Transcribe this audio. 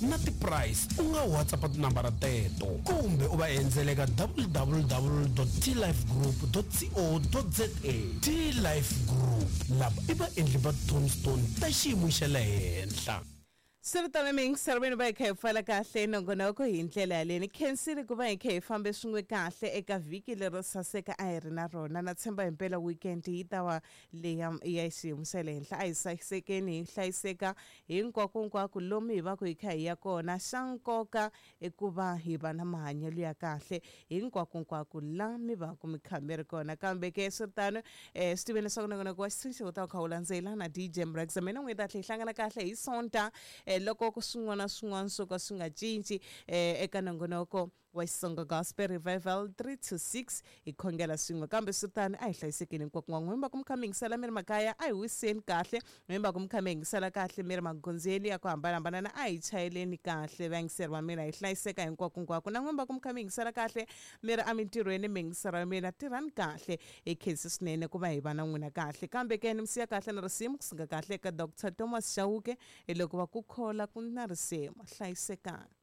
na ti-price u nga WhatsApp tinambara teto kumbe u va endzela eka www tlifegroup co za. T-Life Group, lava i vaendli va tombstone ta xiyimo xa le henhla. Swi ri tano miyingiseri va hi kha hi pfala kahle nongonoko hi ndlela yaleyo. Ni khensile ku va hi kha hi fambe swin'we kahle eka vhiki lero saseka a hi ri na rona. Na tshemba himpela weekend yi ta va leya ya xiyimo xa le henhla. A hi sasekeni hi hlayiseka hinkwakonkwako lomu hi va ku hi kha hi ya kona. Xa nkoka i ku va hi va na mahanyelo ya kahle hinkwakonkwako la mi va ku mi kha mi ri kona. Kambe ke swi ri tano swi tiveni leswaku nongonoko wa xitshunxo wu ta wu kha wu landzela na DJ Mraxa. Mina n'wini ta tlhela hi hlangana kahle hi Sonta loko ku swin'wana na swin'wana swo ka swi nga cinci eka nongonoko wa Xitsonga Gospel Revival 3 to 6 hi khongela swin'we. Kambe swi tano a hi hlayisekeni hinkwako n'wa n'wini va ku mi kha mi yingisela mi ri makaya a hi wiseni kahle n'wini va ku mi kha mi yingisela kahle mi ri magondzweni ya ku hambanahambana na a hi chayeleni kahle vayingiseri va mina hi hlayiseka hinkwakonkwako na n'wini va ku mi kha mi yingisela kahle mi ri emintirhweni miyingiseri wa mina tirhani kahle hi khensi swinene ku va hi va na n'wina kahle kambe ke ni mi siya kahle na risimu kusuka kahle eka Dr Thomas Chauke hi loko va ku khola ku na risimu hlayisekani.